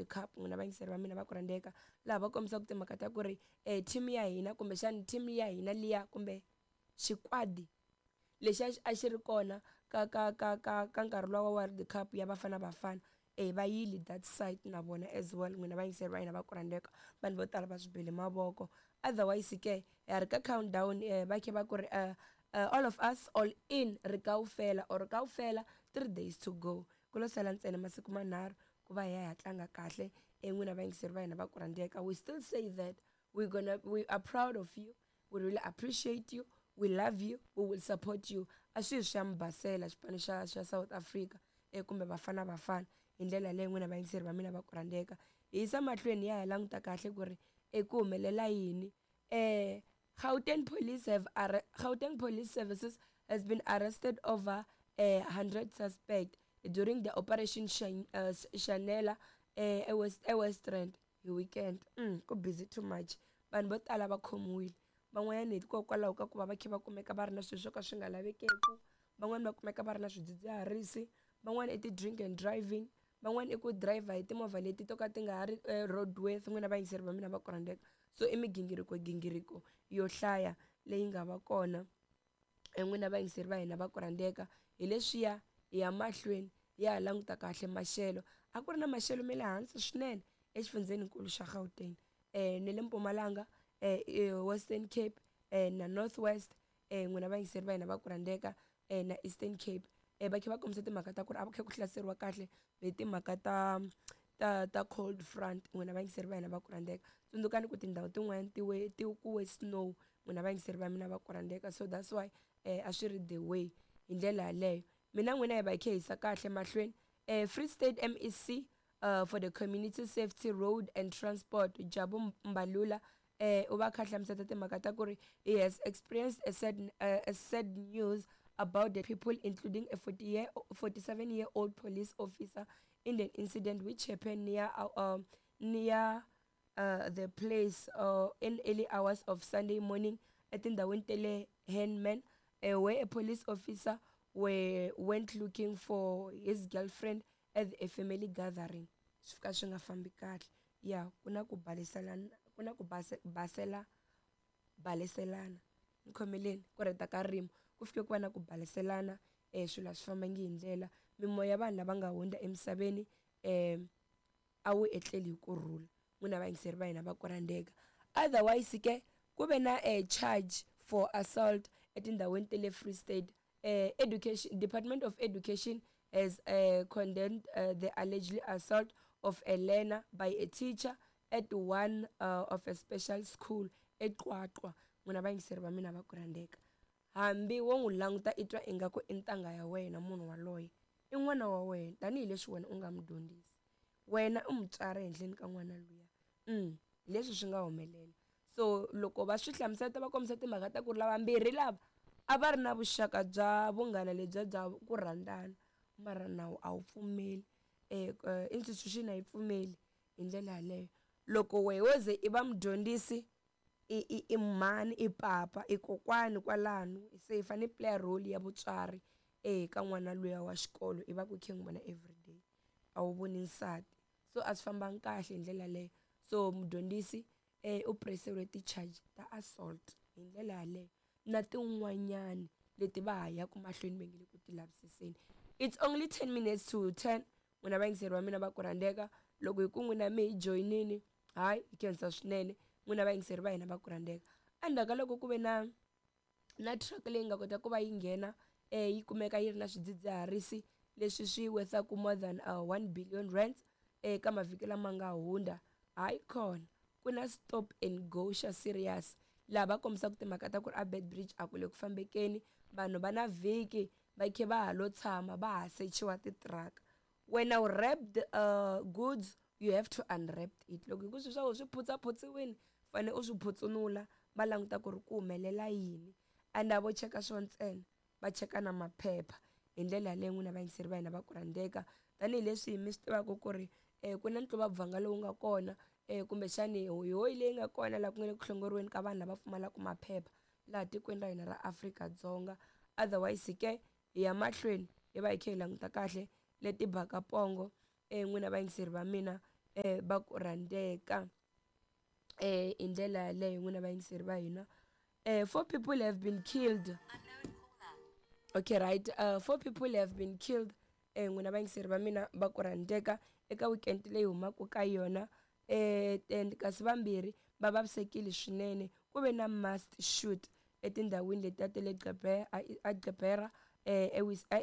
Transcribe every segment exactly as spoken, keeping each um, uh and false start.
Cup n'wina vayingiseri va mina va ku rhandzeka laha va kombisaka timhaka ta ku ri um team ya hina kumbexani team ya hina liya kumbe xikwadi lexi a xi ri kona ka ka ka ka ka nkarhi luwa wa World Cup ya Bafana Bafana e va yile that side na vona as well n'wina vayingiseri va hina va ku rhandzeka vanhu vo tala va swi bele mavoko otherwise ke ha ri ka countdown um va khe va ku ri uh, uh, all of us all in ri kaufela or kaufela three days to go ku lo sala ntsena masiku manharhu ku va hi ya hi ya tlanga kahle e n'wina vayingiseri va hina va ku rhandzeka we still say that we gonna we are proud of you we really appreciate you we love you we will support you a swi hi swi ya mi basela xipano xa xa South Africa e kumbe Bafana Bafana hi ndlela leyi n'wina vayingiseri va mina va ku rhandzeka hi yisa mahlweni ya ha languta kahle ku ri eku humelela yini eh Gauteng police have arre- Gauteng Police Services has been arrested over a hundred suspect during the operation Shan- uh, Shanela eh eWest eWest Rand hi weekend mm, ku busy too much vanhu vo tala va khomiwile van'wanyana hikokwalaho ka ku va va kha va kumeka va ri na swilo swo ka swi nga lavekeku van'wani va kumeka va ri na swidzidziharisi van'wani i ti-drink and driving van'wani i ku driver hi timovha leti to ka ti nga ha ri eh, roadworthy n'wina vayingiseri va mina va ku rhandzeka so i migingiriko gingiriko yo hlaya leyi nga va kona n'wina vayingiseri va hina va ku rhandzeka hi leswiya hi ya mahlweni ya ha languta kahle maxelo a ku ri na maxelo ma le hansi swinene exifundzheninkulu xa Gauteng um ne le Mpumalanga um Western Cape um na North West um n'wina vayingiseri va hina va ku rhandzeka um na Eastern Cape um va kha va kombisa timhaka ta ku ri a va kha ku hlaseriwa kahle hi timhaka ta ta ta cold front n'wina vayingiseri va hina va ku rhandzeka tsundzukani ku tindhawu tin'wani ti we ti ku we snow n'wina vayingiseri va mina va ku rhandzeka so that's why um a swi ri the way hi ndlela yaleyo mina n'wina hi va hi kha hi yisa kahle mahlweni um Free State M E C uh, for the community safety road and transport Jabu Mbalula eh u va kha hlamusela timhaka ta ku ri he has experienced a sad, uh, a sad news about the people including a forty year, forty-seven year old police officer in an incident which happened near uh, um, near uh, the place uh, in early hours of Sunday morning etindhawini ta le Henman uh, where a police officer were, went looking for his girlfriend at a family gathering swi fika swi nga fambi kahle ya ku na ku baleselana ku na ku base, basela baleselana ni khomeleni ku rheta ka ririmi ku fike ku va na ku baleselana um swilo a swi fambangi hi ndlela mimoya ya vanhu lava nga hundza emisaveni um a wu etleli hi kurhula n'wina vayingiseri va hina va ku rhandzeka otherwise ke ku ve na a charge for assault etindhawini ta le Free State uh, education Department of Education has uh, condemned uh, the alleged assault of a learner by a teacher at one uh, of a special school eQwaqwa n'wina vayingiseri va mina va ku rhandzeka hambi wo n'wi languta i twa ingaku i ntangha ya wena munhu waloye i n'wana wa wena tanihileswi wena u nga n'wi dyondzisi wena u mutswari ehenhleni ka n'wana luya mm leswi swi nga humelela so loko va swi hlamusela va kombisa timhaka ta ku ri lavambirhi lava a va ri na vuxaka bya vunghana lebyiya bya ku rhandzana mara nawu a wu pfumeli um institution a yi pfumeli hi ndlela yaleyo loko wehe wo ze i va mudyondzisi i i i mhani i papa i kokwani kwalano se i fanele i play role ya vutswari eka n'wana luya wa xikolo i va ku khe n'wi vona everyday a wu voni nsati so a swi fambangi kahle hi ndlela yaleyo so mudyondzisi um u pureseriwe ti-charge ta assault hi ndlela yaleyo na tin'wanyani leti va ha yaka mahlweni va nge le ku ti lavisiseni it's only ten minutes to ten n'wina vayingiseri va mina va ku rhandzeka loko hi ku n'wina mi hi joyinini hayi hi khensa swinene n'wina vayingiseri va hina va ku rhandzeka endzhaku ka loko ku ve na na truck leyi nga kota ku va yi nghena um yi kumeka yi ri na swidzidziharisi leswi swi worth-aku more than uh, one billion rands eka mavhiki lama nga hundza hayi khona ku na stop and go xa serious laha va kombisaka timhaka ta ku ri a Beitbridge a ku le ku fambekeni vanhu va na vhiki va khe va ha lo tshama va ha sechiwa titiraka when u wrapped uh, goods you have to unwrap it loko hi ku swilo swa wena swi phutsaphutsiwini fanele u swi phutsunula va languta ku ri ku humelela yini and a vo cheka swo ntsena va cheka na maphepha hi ndlela yaleyo n'wina vayingiseri va hina va ku rhandzeka tanihileswi mi swi tivaka ku ri um ku na ntluva lowu nga kona um kumbexani hoyihoyi leyi nga kona laha ku nga le ku hlongoriweni ka vanhu lava pfumalaka maphepha laha tikweni ra hina ra Afrika-Dzonga otherwise ke hi ya mahlweni hi va hi kha hi languta kahle leti baka pongo um n'wina vayingiseri va mina eh va ku rhandzeka eh hi ndlela yaleyo n'wina vayingiseri va hina. Eh four people have been killed. Okay, right. Uh, four people have been killed eh n'wina vayingiseri va mina va ku rhandzeka eka weekend leyi humaka ka yona, eh and kasi vambirhi va vavisekile swinene. Ku ve na mass shoot etindhawini letiya ta le a Gqeberha eh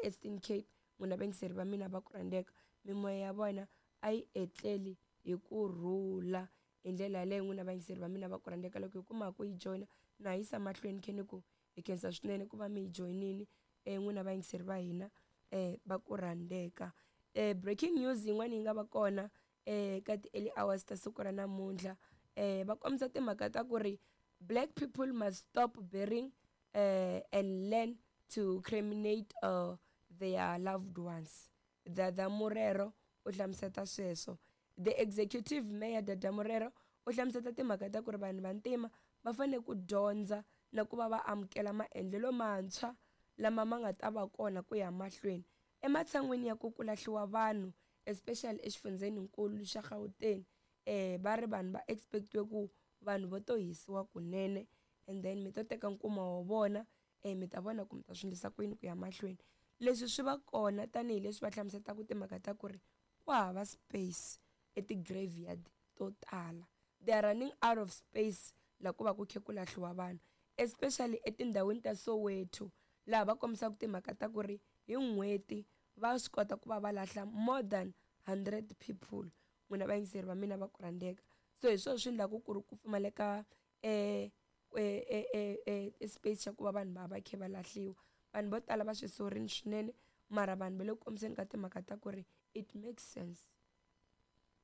Eastern Cape. N'wina vayingiseri va mina va ku rhandzeka, mimoya ya vona a yi etleli hi kurhula hi ndlela yaleyo. N'wina vayingiseri va mina va ku rhandzeka, loko hi kuma ku yi joyina na yisa mahlweni khe ni ku hi khensa swinene ku va mi yi joyinile eh n'wina vayingiseri va hina eh va ku rhandzeka. Eh breaking news yin'wana yi nga va kona eh ka ti-early hours ta siku ra namuntlha, eh va kombisa timhaka ta ku ri black people must stop burying eh and learn to cremate uh, their loved ones. Dada Morero u hlamuseta sweswo. The executive mayor Dada Morero u hlamuseta timhaka ta ku ri vanhu vantima va fanele ku dyondza na ku va va amukela maendlelo mantshwa lama ma nga ta va kona ku ya mahlweni, ematshan'wini ya ku ku lahliwa vanhu especially exifundzheninkulu xa Gauteng. Eh va ri vanhu va expect-iwe ku vanhu vo to hisiwa kunene, and then mi to teka nkuma wa vona eh mi ta vona ku mi ta swi endlisa ku yini ku ya mahlweni. Leswi swi va kona tanihileswi va hlamusetaka timhaka ta ku ri ku hava space eti-graveyard to tala. They are running out of space la ku va ku khe ku lahliwa vanhu, especially etindhawini ta Soweto, laha va kombisaka timhaka ta ku ri hi n'hweti va swi kota ku va va lahla more than hundred people. N'wina vayingiseri va mina va ku rhandzeka, so hi swona swi endlaka ku ri ku pfumaleka eh eh eh space xa ku va vanhu va va khe va lahliwa. Vanhu vo tala va swi sorini swinene, mara vanhu va le ku kombiseni ka timhaka ta ku ri it makes sense.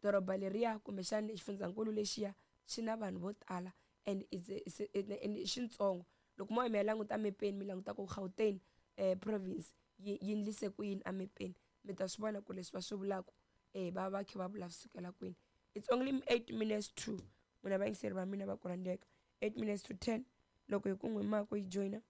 Doroba leriya kumbexana xifundzankulu lexiya xi na vanhu vo tala and it's it's and i xintsongo. Loko mo ya mi ya languta mepeni mi languta ku Gauteng eh province yi yi endlise ku yini emepeni, mi ta swi vona ku leswi va swi vulaka eh va va kha va vula swi sukela kwini. It's only eight minutes to, n'wina vayingiseri va mina va ku rhandzeka, eight minutes to ten. Loko hi ku n'wi ma ku yi joyina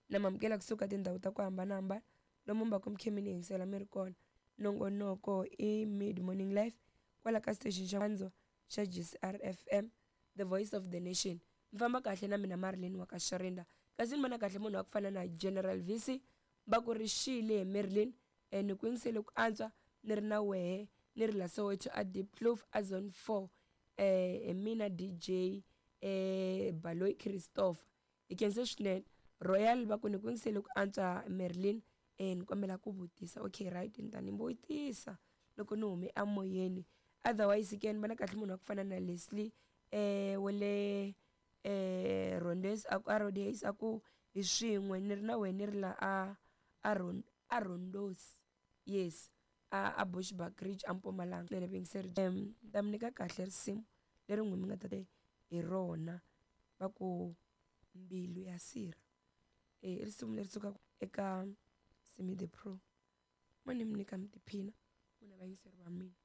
na mamukela kusuka tindhawu ta ku hambanahambana lomu mi va ku mi khe mi ni yingisela mi ri kona. Nongonoko i Mid Morning Live kwala ka station xa Ndzo xa G C R F M, the voice of the nation. Mi famba kahle na mina Marilyn wa ka Sharinda, kasi ni vona kahle munhu wa ku fana na General V C va ku ri xile Marilyn, eh ni ku yingisele ku antswa ni ri na wehe ni ri la Soweto a Diepkloof a zone four, eh mina D J eh Baloyi Christopher. Hi khense swinene Royal va ku ni ku yingisele ku antswa Marilyn, eh ni kombela ku vutisa. Okay, right, ni ta ni vutisa loko ni hume emoyeni. Otherwise ke ni vona kahle munhu wa ku fana na Leslie eh wele eh Rondes a ku a Rhodes a ku hi swin'we ni ri na wena ni ri la a a Ron a Rondos, yes, a a Bushbuckridge a Mpumalanga. Nene vuyingiseri um ta mi nyika kahle risimu leri n'wi mi nga ta hi rona va ku Mbilu ya Sirha. Eh risimu leri sukaka eka Simi the Pro. Mo ni mi nyika mi tiphina n'wina vayingiseri va mina.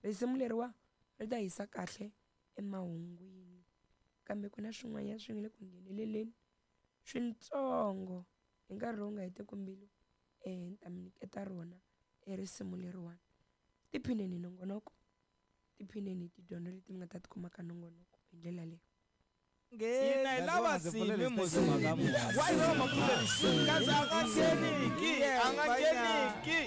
Risimu leriwa ri ta hisa kahle emahungwini, kambe ku na swin'wanyana swi nga le ku ngheneleleni swintsongo hi nkarhi lowu nga heteki mbilu, eh ni ta mi nyiketa rona e risimu leriwani. Tiphineni hi nongonoko, tiphineni hi tidyondzo leti mi nga ta ti kuma ka nongonoko hi ndlela leyi. Hina hi lava Simi musi. Why lava mapfuleli? Kasi a nga ngheniki, a nga ngheniki.